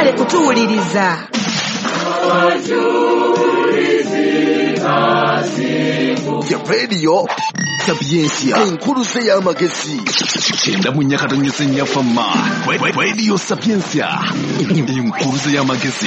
Mwebale kutuwuliriza. Ya Radio Sapientia, enkuluze y'amagezi. 94.4 FM Radio Sapientia, enkuluze y'amagezi,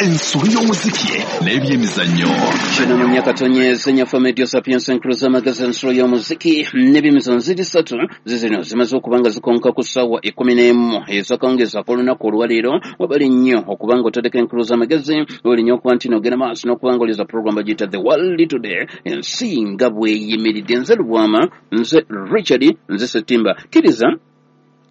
ensolo y'omuziki n'ebyemizannyo. 94.4 FM Radio Sapientia, enkuluze y'amagezi, ensolo y'omuziki n'ebyemizannyo. Ziri ssatu zizino zimaze okuba nga zikonka ku ssaawa 11 ezakawungeezi ak'olunaku olwaleero. Wabali nnyo okuba nga otadeko enkuluze y'amagezi, wabali nnyo okuba nti n'ogenda maaso n'okuba nga oliza program bagiyita The World Today, ensi nga bweyimiridde. Nze Lubwama, nze Richard, nze Setimba. Kkiriza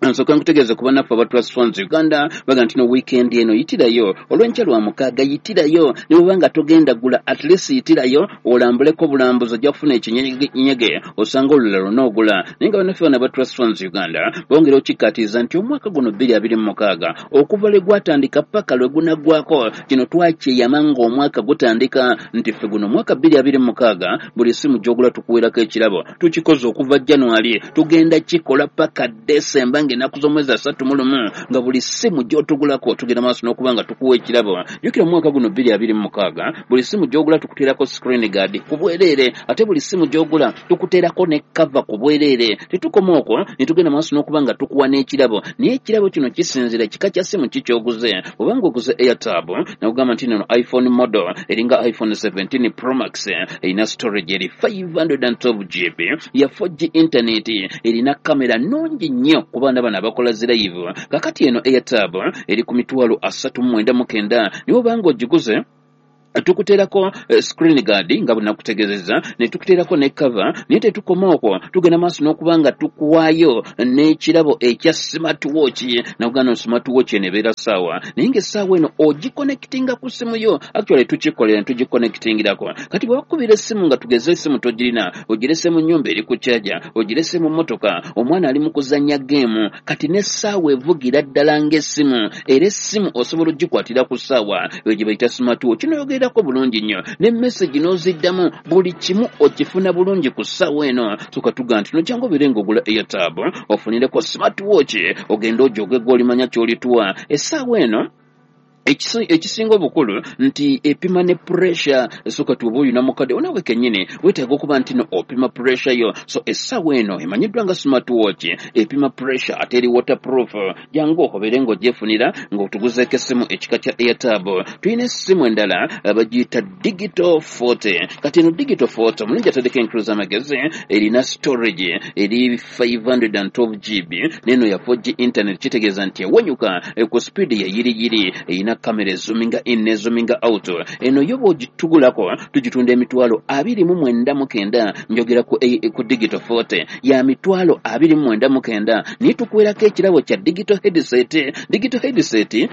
nsooka nkutegeeze ku bannaffe aba Trust Funds Uganda, baga nti no weekend eno yitirayo olw'enkya lwa mukaaga, yitirayo ne bw'oba nga togenda gula, at least yitirayo olambuleko obulambuzi, ojja kufuna ekinyegenyege osanga olulala lw'onoogula. Naye nga bannaffe bano aba Trust Funds Uganda bongera okikkaatiriza nti omwaka guno 2026 okuva lwe gwatandika paka lwe gunaggwako, kino twakyeyama ng'omwaka gutandika nti ffe guno omwaka 2026 buli ssimu gy'ogula tukuweerako ekirabo. Tukikoze okuva January, tugenda kikola paka December ng'ennaku z'omwezi 31, nga buli ssimu gy'otugulako tugenda maaso n'okuba nga tukuwa ekirabo. Jjukira mu mwaka guno 2026 buli ssimu gy'ogula tukuteerako screen guard ku bwereere, ate buli ssimu gy'ogula tukuteerako ne cover ku bwereere. Tetukoma okwo, ne tugenda maaso n'okuba nga tukuwa n'ekirabo, naye ekirabo kino kisinziira kika kya ssimu ki ky'oguze. Obanga oguze Airtab, nakugamba nti nno iPhone model eringa iPhone 17 Pro Max, erina storage eri 512 GB ya 4G internet, erina kamera nnungi nnyo ku baana bano abakola zi live. Kakati eno Airtab eri ku 399,000, naye obanga ogiguze tukuteerako screen guard nga bwe nakutegeezezza, ne tukuteerako ne cover. Naye tetukoma okwo, tugenda maaso n'okuba nga tukuwaayo n'ekirabo ekya smartwatch. Nakugamba smartwatch eno ebeera ssaawa, naye ng'essaawa eno ogiconnectinga ku ssimu yo. Actually tukikolera ne tugiconnectingirako. Kati bwe bakubira essimu, nga tugeze essimu togirina, ogirese mu nnyumba eri ku charger, ogirese mu mmotoka, omwana ali mu kuzannya game, kati n'essaawa evugira ddala ng'essimu, era essimu osobola ogikwatira ku ssaawa eyo gye bayita smartwatch. N'oyogerako bulungi nnyo ne message n'oziddamu, buli kimu okifuna bulungi ku ssaawa eno. Tukatuga nti nojjangu obeere ng'ogula Airtab ofunireko smartwatch, ogende ojoge gw'olimanya ky'olituwa. Essaawa eno ekisinga obukulu nti epima ne pressure. So kati oba olina mukadde onawe kennyini weetaaga okuba nti no opima pressure yo. So essaawa eno emanyiddwa nga smartwatch, epima pressure ate eri waterproof. Jangu obeere ng'ogyefunira ng'otuguzeeko essimu ekika kya Airtab. Tulina essimu endala bagiyita Digital 40. Kati eno Digital 40 omulungi ataddeko enkulu z'amagezi, erina storage eri 512 GB, n'eno ya 4G internet, kitegeeza nti ewenyuka ku speed ya yiriyiri, erina kamera ezoominga in ne zoominga out. Eno yo bw'ogitugulako tugitunda 29,900. Njogera ku Digital 40 ya 29,900, naye tukuweerako ekirabo kya digital headset. Digital headset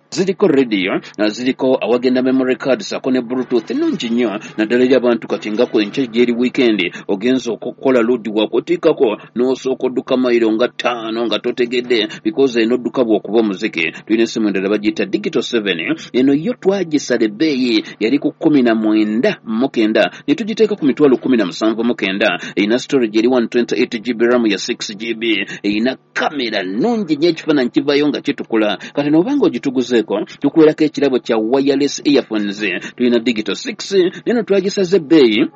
ziriko radio, ziriko awagenda memory card sako ne Bluetooth, nnungi nnyo naddala eri abantu kati nga ku enkya gyeri weekend, ogenza okukola load wakutikako n'osooka odduka mayiro nga 5 nga totegedde, because eno odduka bw'okuba omuziki. Tulina essimu endala bagiyita Digital 7. Eno yo twagisala ebbeeyi, yali ku 19,900, ne tugiteeka ku 17,900. Erina storage eri 128 GB, RAM ya 6 GB, erina kamera nnungi nnyo, ekifaananyi kivayo nga kitukula. Kati n'obanga ogituguzeeko tukuweerako ekirabo kya wireless earphones. Tulina Digital 6, neno twagisaze ebbeeyi,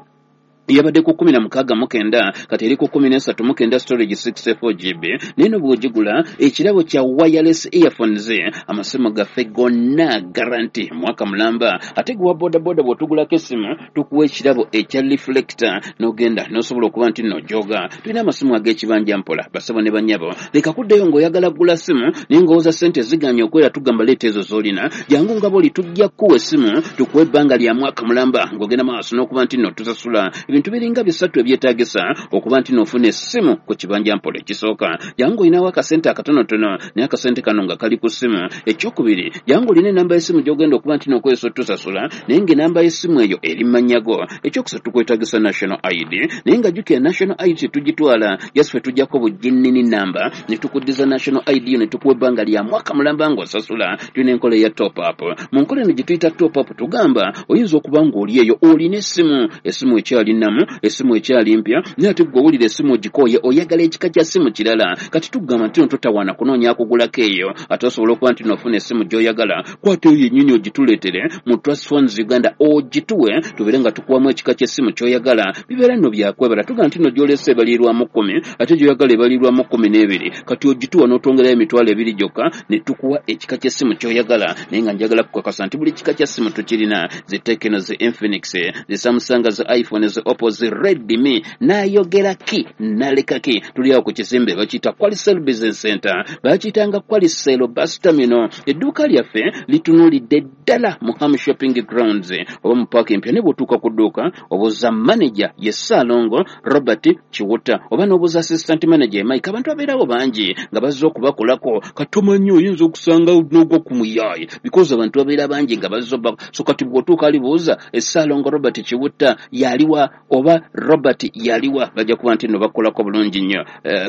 yabadde ku 16,900, kati eri ku 13,900, storage 64 GB. Naye no bw'ogigula ekirabo kya wireless earphones. Amasimu gaffe gonna guarantee mwaka mulamba. Ate gwe wa bodaboda bw'otugulako essimu tukuwa ekirabo ekya reflector, n'ogenda n'osobola okuba nti nno ojooga. Tulina amasimu ag'ekibanja mpola. Basabo ne bannyabo, leka kuddayo ng'oyagala kugula ssimu naye ng'owooza ssente ziganye okwera, tugamba leeta ezo z'olina, jangu nga bw'oli, tujja kukuwa essimu, tukuwa ebbanga lya mwaka mulamba ng'ogenda maaso n'okuba nti nno tusasula. Ebintu biringa bisatu ebyetaagisa okuba nti n'ofuna essimu ku kibanja mpola. Ekisooka, jangu olinawo akasente akatonotono, naye akasente kano nga kali ku ssimu. Ekyokubiri, jangu olina enamba y'essimu gy'ogenda okuba nti n'okozesa otusasula, naye ng'enamba y'essimu eyo eri mmannya go. Ekyokusatu, tukwetaagisa national ID, naye nga jjukira national ID tetugitwala, just ffe tujjako buginnini namba ne tukuddiza national ID yo, ne tukuwa ebbanga lya mwaka mulamba ng'osasula. Tulina enkola eya top up. Mu nkola eno gye tuyita top up, tugamba oyinza okuba ng'oli eyo olina essimu, essimu ekyali nnamu. nnamu, essimu ekyali mpya, naye ate gwe owulira essimu ogikooye, oyagala ekika kya ssimu kirala. Kati tugamba nti no totawaana kunoonya akugulako eyo, ate osobola okuba nti nofuna essimu gy'oyagala. Kwata eyo yennyini ogituleetere mu Trust Phones Uganda, ogituwe tubeere nga tukuwamu ekika ky'essimu ky'oyagala. Bibeera nno byakwebala. Tugamba nti no gy'olese ebalirwamu 10, ate gy'oyagala ebalirwamu 12. Kati ogituwa n'otwongerayo 20,000 gyokka ne tukuwa ekika ky'essimu ky'oyagala. Naye nga njagala kukakasa nti buli kika kya ssimu tukirina, zi Tecno, zi Infinix, zi Samsung, zi iPhone, zi Oppo, zi Redmi. Nayogera ki naleka ki? Tuli awo ku kizimbe bakiyita Qualicel Business Center, bakiyitanga Qualicel Bus Terminal. Edduuka lyaffe litunuulidde ddala mu Ham Shopping Grounds oba mu paaka empya. Ne bw'otuuka ku dduuka obuuza manager ye Ssaalongo Robert Kiwuta, oba n'obuuza assistant manager Mike. Abantu babeerawo bangi nga bazze okubakolako. Katomanyi oyinza okusanga n'ogwa ku muyaaye because abantu babeera bangi nga bazze obba. So kati bw'otuuka alibuuza Ssaalongo Robert Kiwuta yaliwa oba Robert yaliwa, bajja kuba nti nno bakolako bulungi nnyo.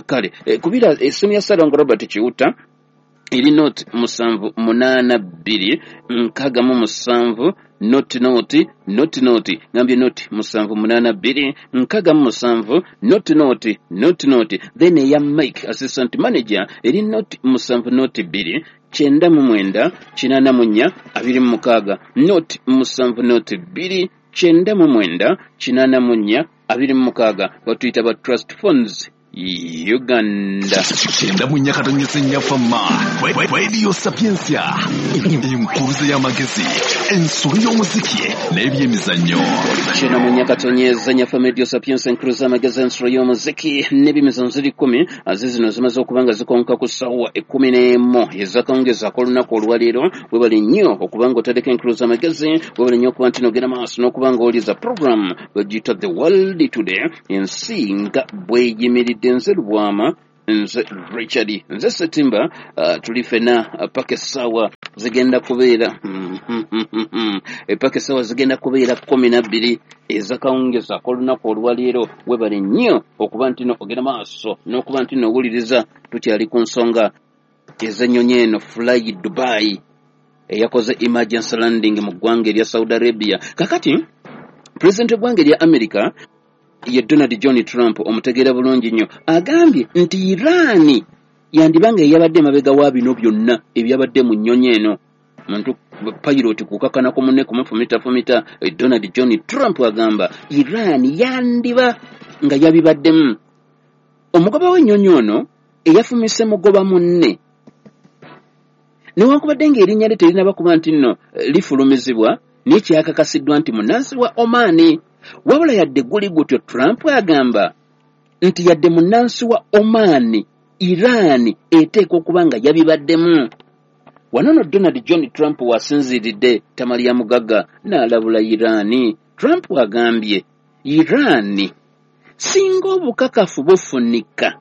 Kale kubira essimu ya Ssaalongo Robert Kiwuta eri 0782 67 00 00. Ngambye 0782 67 00 00. Then eya Mike assistant manager eri 0702 99 84 26, 0702 99 84 26. Batuyita ba Trust Funds Uganda. 94.4 Fama Radio Sapientia, enkuruze y'amagezi, ensolo y'omuziki n'ebyemizannyo. 94.4 Fama Radio Sapientia, enkuruze y'amagezi, ensolo y'omuziki n'ebyemizannyo. Ziri 10 azizi zino zimaze okuba nga zikonka ku ssaawa 11 ezakawungeezi ak'olunaku olwaleero. Webale nnyo okuba nga otadeko enkuruze y'amagezi, webale nnyo okuba nti nogenda maaso n'okuba nga owuliriza program bagiyita The World Today, ensi nga bweyimiridde. Nze Lubwama, nze Richard, nze Setimba. Tuli fena paka essaawa zigenda kubeera paka essaawa zigenda kubeera 12 ezakawungeezi ak'olunaku olwaleero. Webale nnyo okuba nti no ogenda maaso n'okuba nti nowuliriza. Tukyali ku nsonga ez'ennyonyi eno Fly Dubai eyakoze emergency landing mu ggwanga erya Saudi Arabia. Kakati pulezidenti w'eggwanga erya America ye Donald John Trump, omutegeera bulungi nnyo, agambye nti Iran yandibanga eyabadde emabega wa bino byonna ebyabadde mu nnyonyi eno. Muntu pilot kukakana ku munne kumufumitafumita. Donald John Trump agamba Iran yandiba nga yabibaddemu. Omugoba w'ennyonyi ono eyafumise mugoba munne, newankubadde ng'erinnya lye terinaba kuba nti nno lifulumizibwa, naye kyakakasiddwa nti munnansi wa Oman. Wabula yadde guli gutyo, Trump agamba nti yadde munnansi wa Oman, Iran eteekwa okuba nga yabibaddemu. Wano no Donald John Trump wasinziiridde Tamaliya Mugagga n'alabula Iran. Trump agambye Iran singa obukakafu bufunika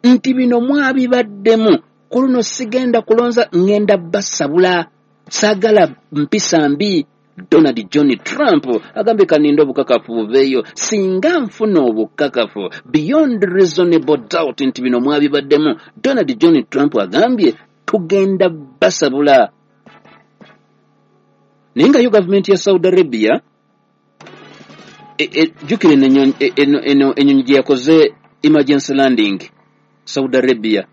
nti bino mwabibaddemu, ku luno sigenda kulonza, ngenda basabula, saagala mpisa mbi. Donald John Trump agambye kaninda obukakafu buveeyo, singa nfuna obukakafu beyond reasonable doubt nti bino mwabibaddemu, Donald John Trump agambye tugenda basabula. Naye nga yo gavumenti ya Saudi Arabia jjukira eno ennyonyi gye yakoze emergency landing Saudi Arabia,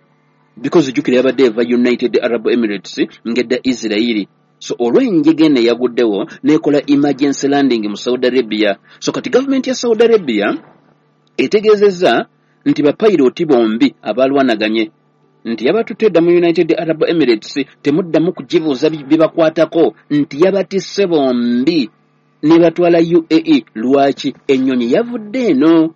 because jjukira yabadde eva United Arab Emirates ng'edda Israeli. So olw'enjega eno eyaguddewo n'ekola emergency landing mu Saudi Arabia. So kati gavumenti ya Saudi Arabia etegeezezza nti bapayiroti bombi abalwanaganye nti yabatutte dda mu United Arab Emirates, temuddamu kugibuuza bibakwatako, nti yabatisse bombi ne batwala UAE. Lwaki ennyonyi yavudde eno?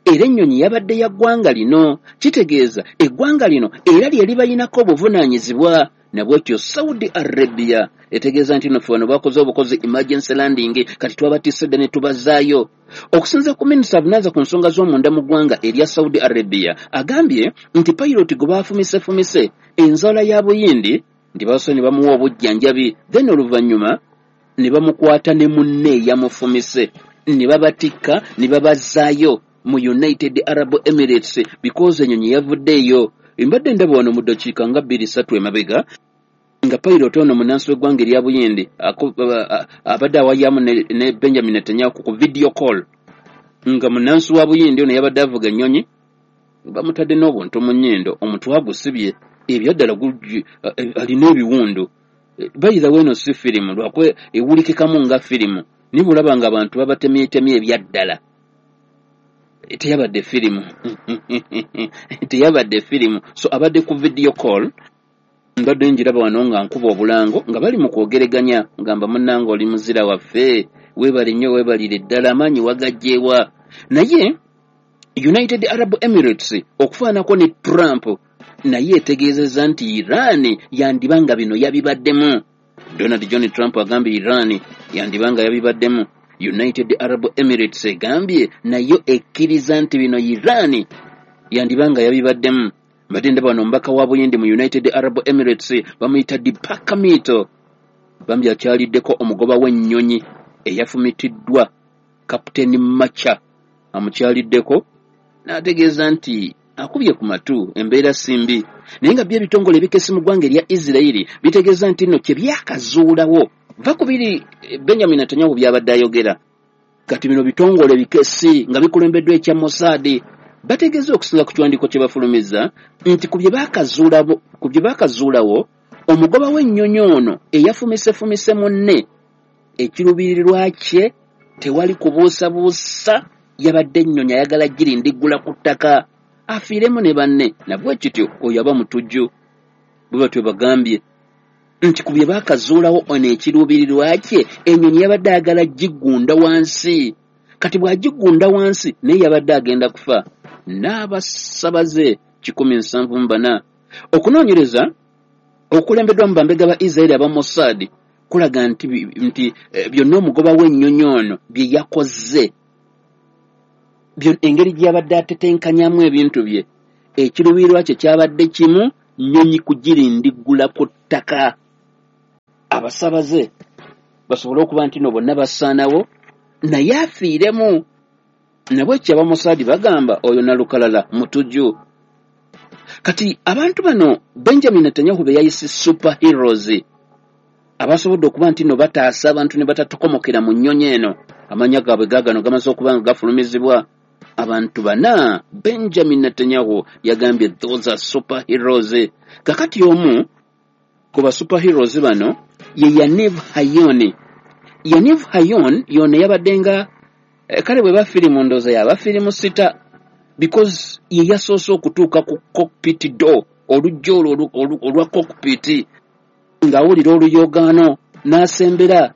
Era ennyonyi yabadde ya ggwanga lino, kitegeeza eggwanga lino era lye libayinako obuvunaanyizibwa. Nabwekyo Saudi Arabia etegeeza nti nno ffe wano bakoze obukozi emergency landing, kati twabatisse dda ne tubazaayo. Okusinziira ku minisita avunaanyizibwa ku nsonga z'omunda mu ggwanga erya Saudi Arabia, agambye nti payiroti gwe baafumisefumise enzaala ya Buyindi nti basoose ne bamuwa obujjanjabi, then oluvannyuma ne bamukwata ne munne eyamufumise ne babatikka ne babazaayo mu United Arab Emirates because ennyonyi yavuddeeyo. Mbadde ndaba wano mu ddakiika nga 2-3 emabega nga pilot ono munnansi w'eggwanga erya Buyindi abadde awayamu ne Benjamin Netanyahu ku video call. Nga munnansi wa Buyindi ono yabadde avuga ennyonyi, bamutadde n'obuntu mu nnyindo, omutwe agusibye, ebyaddala alina ebiwundu. Bayirawo eno si firimu, lwakuba ewulikikamu nga firimu, naye bw'olaba nga abantu babatemyetemye ebyaddala, teyabadde firimu, teyabadde firimu. So abadde ku video call, mbadde njiraba wano nga nkuba obulango nga bali mu kwogereganya, ngamba munnange oli muzira waffe, weebale nnyo, weebalire ddala, amaanyi wagajjeewa. Naye United Arab Emirates okufaanako ne Trump naye etegeezezza nti Iran yandiba nga bino yabibaddemu. Donald John Trump agambye Iran yandiba nga yabibaddemu. United Arab Emirates egambye nayo ekkiriza nti bino Iran yandiba nga yabibaddemu. Mbadde ndaba wano omubaka wa Buyindi mu United Arab Emirates bamuyita Deepak Mittal, bambi akyaliddeko omugoba w'ennyonyi eyafumitiddwa Captain Macha, amukyaliddeko n'ategeeza nti akubye ku matu, embeera si mbi. Naye nga byo ebitongole ebikesi mu ggwanga erya Isirayiri bitegeeza nti nno kye byakazuulawo va ku biri Benjamin Netanyahu by'abadde ayogera. Kati bino bitongole bikesi nga bikulembeddwa ekya Mossad bategeeza okusinga ku kiwandiiko kye bafulumizza nti ku bye baakazuulawo omugoba w'ennyonyi ono eyafumisefumise munne ekiruubirirwa kye tewali kubuusabuusa, yabadde ennyonyi ayagala girindiggula ku ttaka afiiremu ne banne, nabwe kityo oyo aba mutujju. Bwe batyo bagambye nti ku bye baakazuulawo ono ekiruubirirwa kye ennyonyi yabadde ayagala gigunda wansi, kati bw'agigunda wansi naye yabadde agenda kufa n'abasabaze 174. Okunoonyereza okukulembeddwa mu bambega ba Israeli aba Mossad kulaga nti byonna omugoba w'ennyonyi ono bye yakoze, engeri gye yabadde atetenkanyamu ebintu bye, ekiruubirirwa kye kyabadde kimu, nnyonyi kugirindiggula ku ttaka abasabaze basobole okuba nti no bonna basaanawo naye afiiremu. Nabwe aba Mossad bagamba oyo nalukalala mutujju. Kati abantu bano Benjamin Netanyahu be yayise super heroes abasobodde okuba nti no bataasa abantu ne batatokomokera mu nnyonyi eno, amannya gaabwe gaagano gamaze okuba nga gafulumizibwa. Abantu bana Benjamin Netanyahu yagambye those are super heroes. Kakati omu ku ba super heroes bano ye Yaniv Hayon. Yaniv Hayon yono yabadde nga kale bwe bafirimu ndowooza yaba firimu sita, because ye yasoose okutuuka ku cockpit door, oluggi olwo olwa cockpit, ng'awulira oluyogaano n'asembera,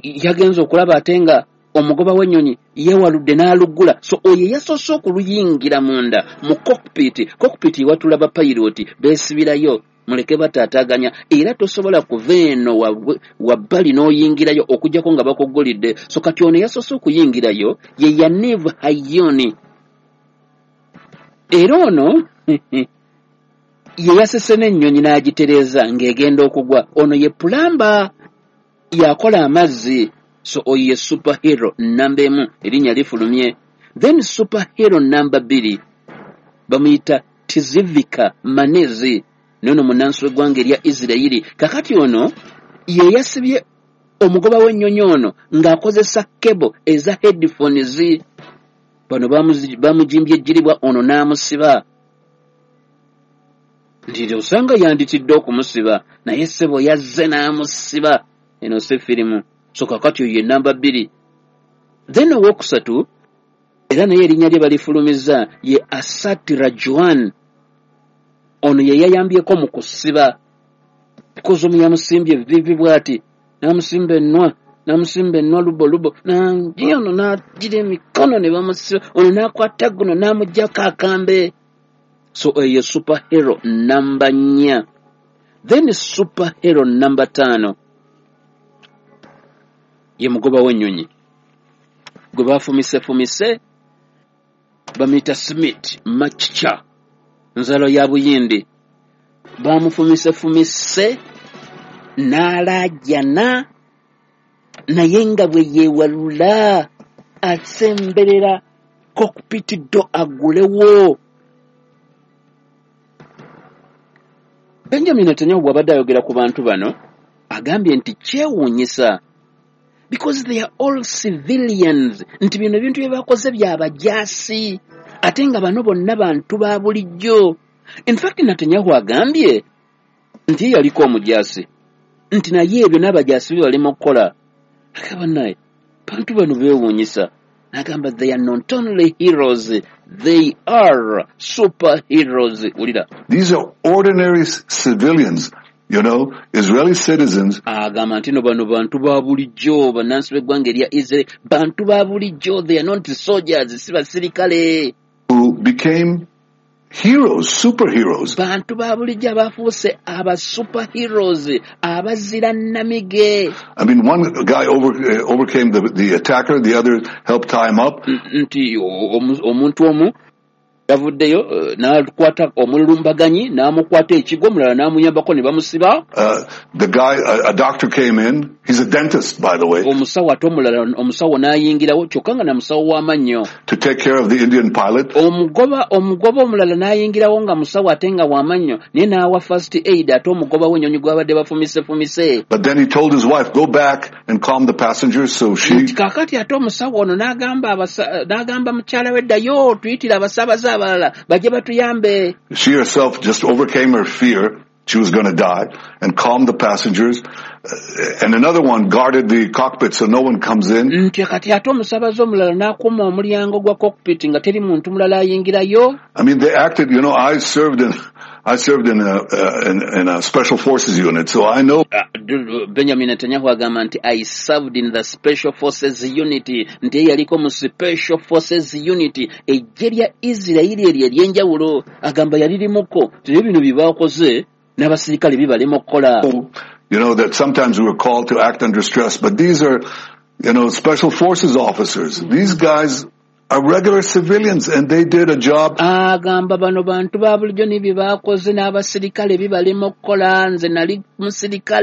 yagenze okulaba ate nga omugoba w'ennyonyi yeewaludde n'aluggula. So oyo yasoose okuluyingira munda mu cockpit. Cockpit ewatula bapayiroti beesibirayo, muleke bataataaganya, era tosobola kuva eno wabbali n'oyingirayo okuggyako nga bakuggulidde. So kati ono yasoose okuyingirayo ye Yaniv Hayon, era ono ye yasese n'ennyonyi n'agitereeza ng'egenda okugwa. Ono ye pulamba, yakola amazzi. So oyo ye superhero namba 1, erinnya lifulumye. Then superhero namba 2 bamuyita Tizivika Manezi, nono munnansi w'eggwanga erya Isirayiri. Kakati ono ye yasibye omugoba w'ennyonyi ono ng'akozesa kebo eza headphones. Bano bamujimbye ejjiribwa, ono n'amusiba. Nti osanga yanditidde okumusiba, naye ssebo yazze n'amusiba. Eno si firimu. So kakati oyo ye namba 2. Then owokusatu era naye erinnya lye balifulumizza ye Asat Rajuan. Ono ye yayambyeko mu kusiba, because omu yamusimbye vivi bw'ati, n'amusimba ennwa, n'amusimba ennwa lubo lubo, ono n'agira emikono ne bamusiba, ono n'akwata guno n'amuggyako akambe. So oyo ye superhero namba 4. Then superhero namba 5 ye mugoba w'ennyonyi gwe bafumisefumise, bamuyita Smith Machicha, nzalo ya Buyindi. Bamufumisefumise n'alaajana, naye nga bwe yeewalula asemberera cockpit door aggulewo. Benjamin Netanyahu bw'abadde ayogera ku bantu bano agambye nti kyewuunyisa Because they are all civilians, nti bino ebintu bye bakoze byabajaasi, ate nga bano bonna bantu ba bulijjo. In fact, Netanyahu agambye nti ye yaliko omujaasi, nti naye ebyo n'abajaasi be balema okukola. Agamba naye bantu bano beewuunyisa. N'agamba they are not only heroes, they are superheroes. Wulira. These are ordinary civilians, Israeli citizens. Agamba nti no bano bantu ba bulijjo, bannansi b'eggwanga erya Israel, bantu ba bulijjo, they are not soldiers, si basirikale, who became heroes, superheroes. Bantu ba bulijjo abafuuse aba superheroes, abazira nnamige. I mean, one guy overcame the attacker, the other helped tie him up. Nti omuntu omu yavuddeyo n'akwata omulumbaganyi, n'amukwata ekigwo, omulala n'amuyambako ne bamusiba. The guy, a doctor came in. He's a dentist, by the way, Omusawo ate omulala, omusawo n'ayingirawo, kyokka nga na musawo w'amannyo, to take care of the Indian pilot. Omugoba omulala n'ayingirawo nga musawo ate nga w'amannyo, naye n'awa first aid ate omugoba w'ennyonyi gw'abadde bafumisefumise. But then he told his wife, "Go back and calm the passengers." So she Nti kaakati ate omusawo ono n'agamba mukyala we, "Ddayo tuyitire abasaabaze abalala bajje batuyambe." She herself just overcame her fear she was going to die and calmed the passengers. And another one guarded the cockpit so no one comes in. Nti kati ate omusaabaze omulala n'akuuma omulyango gwa cockpit nga teri muntu mulala ayingirayo. I mean, they acted, I served in a special forces unit, so I know Benjamin Netanyahu agamba nti I served in the special forces unit, nti ye yaliko mu special forces unit, eggye lya Isirayiri eryo ery'enjawulo, agamba yalirimuko, teri bino bye bakoze n'abasirikale bibalema okukola. That sometimes we were called to act under stress, but these are special forces officers. These guys are regular civilians and they did a job Agamba bano bantu ba bulijjo ne bye bakoze n'abasirikale bibalema okukola, nze nali musirikale.